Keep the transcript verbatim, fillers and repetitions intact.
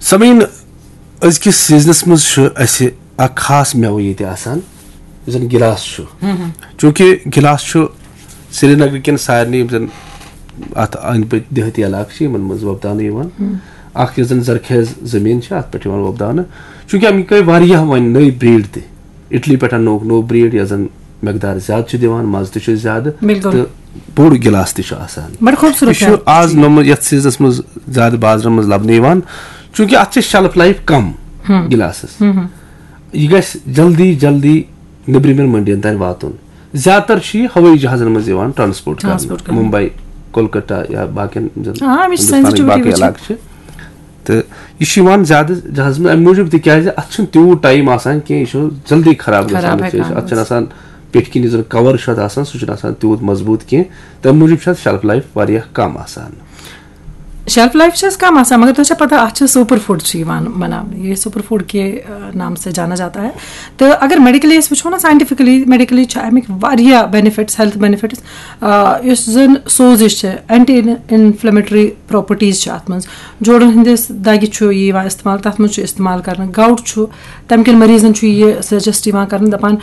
سمعین، أزکِس سیزنس منٛز چھُ اَسہِ اکھ خاص مٮ۪وٕ ییٚتہِ آسان، یُس زن گِلاس چھُ۔ چوٗنٛکہِ گِلاس چھُ سرینگرٕ کٮ۪ن سارنٕے یِم زن اتھ أنٛدۍ پٔکۍ دیہٲتی علاقہٕ چھِ، یِمن منٛز وۄپداونہٕ یِوان۔ اکھ یۄس زن زرخیز زٔمیٖن چھِ، اتھ پٮ۪ٹھ یِوان وۄپداونہٕ۔ چوٗنٛکہِ اَمِکۍ گٔے واریاہ وۄنۍ نٔوۍ breed تہِ، اِٹلی پٮ۪ٹھ اَننووُکھ نوٚو breed، یۄس زن مقدار زیادٕ چھِ دِوان، مزٕ تہِ چھُ زیادٕ، بِلکُل۔ تہٕ بوٚڑ گِلاس تہِ چھُ آسان۔ بَڑٕ خوٗبصوٗرت یہِ چھُ مٮ۪وٕ۔ آز نوٚمُت یَتھ سیٖزنَس منٛز زیادٕ بازرَن منٛز لَبنہٕ یِوان، چوٗنٛکہِ اَتھ چھِ shelf life کَم گِلاسَس۔ یہِ گژھِ جلدی جلدی نیٚبرِمٮ۪ن مٔنڈِیَن تام واتُن۔ زیادٕ تر چھُ یہِ ہوٲیی جہازَن منٛز یِوان transport کرنہٕ، transport کرنہٕ۔ ممبئی، کولکتہ یا باقین زَن آ، اَمِچ ہندوستانٕکۍ sensitivity باقٕے وٕچھِو۔ علاقہٕ چھِ۔ تہٕ یہِ چھُ یِوان زیادٕ جہازَس منٛز اَمہِ موٗجوٗب، تِکیٛازِ اَتھ چھُنہٕ تیوٗت time آسان کینٛہہ، یہِ چھُ جلدی خراب گژھان۔ خراب یہِ چھُ، ہٮ۪کان اَتھ چھُنہٕ گٔژھِتھ۔ آسان پیٚٹھۍ کِنۍ یُس زَن cover چھُ اَتھ آسان، سُہ چھُنہٕ آسان تیوٗت مضبوٗط کینٛہہ، تَمہِ موٗجوٗب چھُ اَتھ shelf life واریاہ کَم آسان۔ Shelf life چھِ اَسہِ کَم آسان، مگر تۄہہِ چھا پَتہ اَتھ چھِ super food چھِ یِوان بَناونہٕ، یہِ super food کے، آ، نام سے جانا جاتا ہے۔ تہٕ اگر medically أسۍ وٕچھو نا، scientifically، medically چھِ اَمِکۍ واریاہ benefits، health benefits۔ آ، یُس زَن سوزِش چھِ، anti inflammatory properties چھِ اَتھ منٛز۔ جوڑَن ہٕنٛدِس دَگہِ چھُ یہِ یِوان استعمال، تَتھ منٛز چھُ استعمال کرنہٕ۔ Gout چھُ، تَمہِ کٮ۪ن مریضَن چھُ یہِ suggest یِوان کرنہٕ، دَپان،